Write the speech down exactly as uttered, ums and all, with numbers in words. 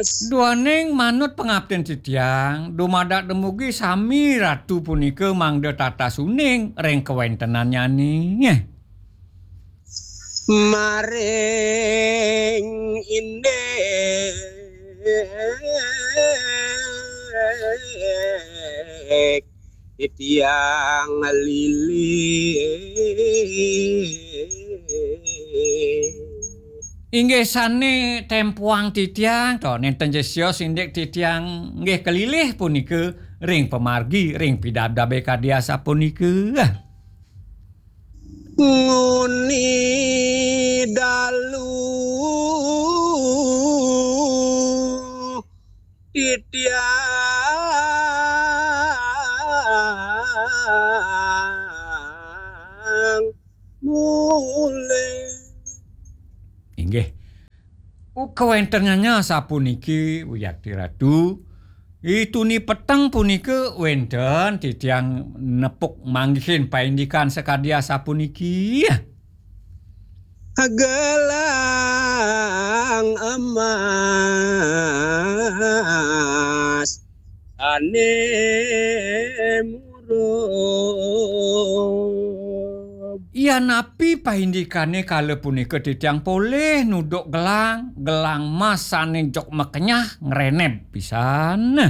Duaning manut pangaptin titiang, dumadak dumugi sami ratu punika mangda tatas uning ring kawéntenannyané. Maring indik titiang lilih. Inggih sané tempuang titiang, to, nénten ja sios indik titiang nggih kalilih punika ring pamargi, ring pidabdabé kadi asapunika. Nguni dalu titiang mulih. Inggih. Kawéntenannya sapuniki, wiakti Ratu. Ituni peteng punika wénten titiang nepuk manggihin paindikan sakadi asapuniki. Gelang emas sané murub. Yanapi paindikané kala punika titiang polih nuduk gelang, gelang mas sané jok makenyah ngreneb pisan.